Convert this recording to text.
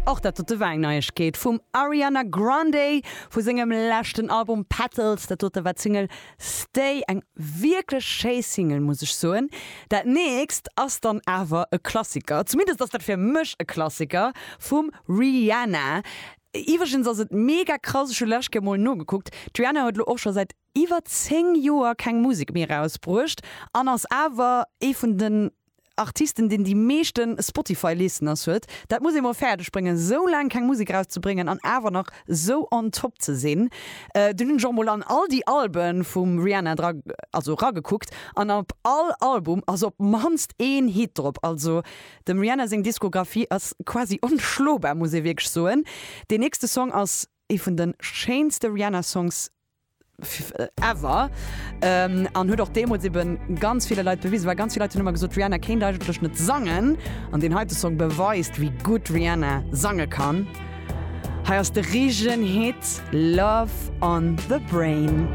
Och dat dote war eng Neiegkeet vum Ariana Grande vu sengem leschten Album Petals. Dat dote war d'Single Stay, eng wierklech schéi Single muss ech soen. Dat nächst ass dann awer e Klassiker, zumindest ass dat fir mech e Klassiker, vum Rihanna. Iwwregens ass et mega krass, ech hu lescht Kéier mol nogekuckt, d'Rihanna huet elo och scho säit iwwer 10 Joer keng Musek méi erausbruecht an ass awer ee vun den Artisten deen déi meeschte Spotify Listeners huet. Dat muss ee mol fäerdeg bréngen esou laang keng Musek erauszebréngen an awer nach esou on top ze sinn. Dunn hunn ech och mol an all déi Albe vum Rihanna dra also ragekuckt an op all Album ass op mannst een Hit drop. Also dem Rihanna seng Diskografie ass quasi onschlobar muss ee wierklech soen. Deen nächste Song ass ee vun de schéinste Rihanna Songs ever an huet och deemools eben ganz ville Leit bewisen, well ganz vill Leit hunn ëmmer gesot, d'Rihanna kéint eigentlech net sangen an deen heite Song beweist, wéi gutt d'Rihanna sange kann. Hei ass de richtegen Hit Love on the Brain.